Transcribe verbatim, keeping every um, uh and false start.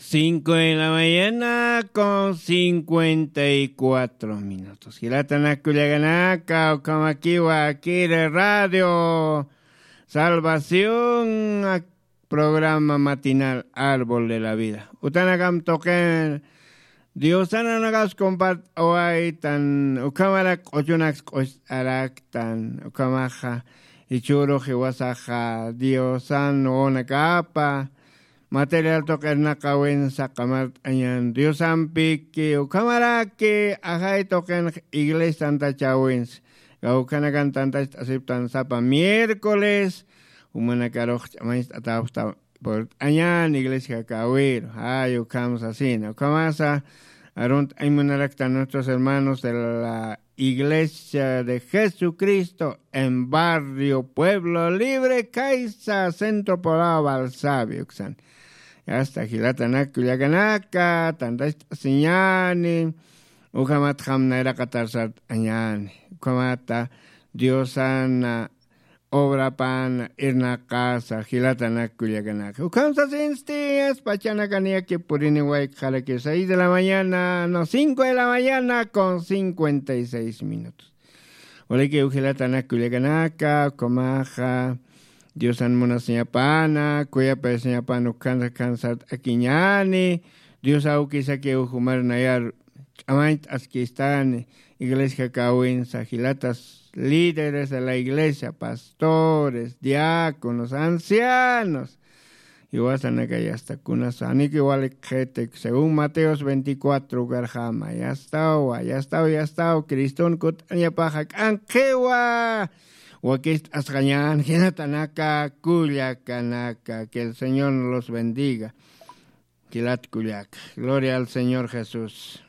Cinco de la mañana con cincuenta y cuatro minutos. Jilatanakullaganaka, ukamakiwa kiri radio Salvación, programa matinal Árbol de la Vida. Utanakam toqen Diosananakas compart'awaytan, ukamarak q'uchunaks q'uch'araktan, ukamaxa ichurux iwasaxa Diosan wonakapa material tuqirnaqawinsa qamart'añan Diosampiki, ukhamaraki ajay tuqinx iglesia tantachawinsa. Gawkhanakan tantacht'asiptan sapa miércoles, umanakarux ch'amañcht'atawsta purt'añan iglesia jakäwiru. Jay ukham sasina, ukhamasa arunt'añ munaraktan nuestros hermanos de la Iglesia de Jesucristo en Barrio Pueblo Libre, Caiza, Centro Poblado Balsavio, uksan. Yasta jilatanak kullakanaka, tantacht'asiñani, ukhamat jamnayraqa tarsart'añani, ukhamata Diosana obrapan irnaqasa, jilatanak kullakanaka. Ukham sasinsti, pachanakan yaki purini wayqharaki seis de la mañana, no, cinco de la mañana con cincuenta y seis minutos. Waliki jilatanak kullakanaka, ukhamaxa Diosan munasiñapana, kuyapayasiñapana, ukhan sart'akiñani, Dios awkisaki ukhumar nayar ch'amañt'askistani, iglesia jakäwinsa, jilatas líderes de la iglesia, pastores, diáconos, ancianos, iwasanaka yasta kunas, aniki walik qhitik, según Mateos veinticuatro, ukarjama, yastawa, yastaw, yastaw, Criston kut'añapaxa k'anqhiwa, wakist'asqañan, jinatanaka, kullakanaka, que el Señor nos los bendiga. Jilat kullaka. Gloria al Señor Jesús.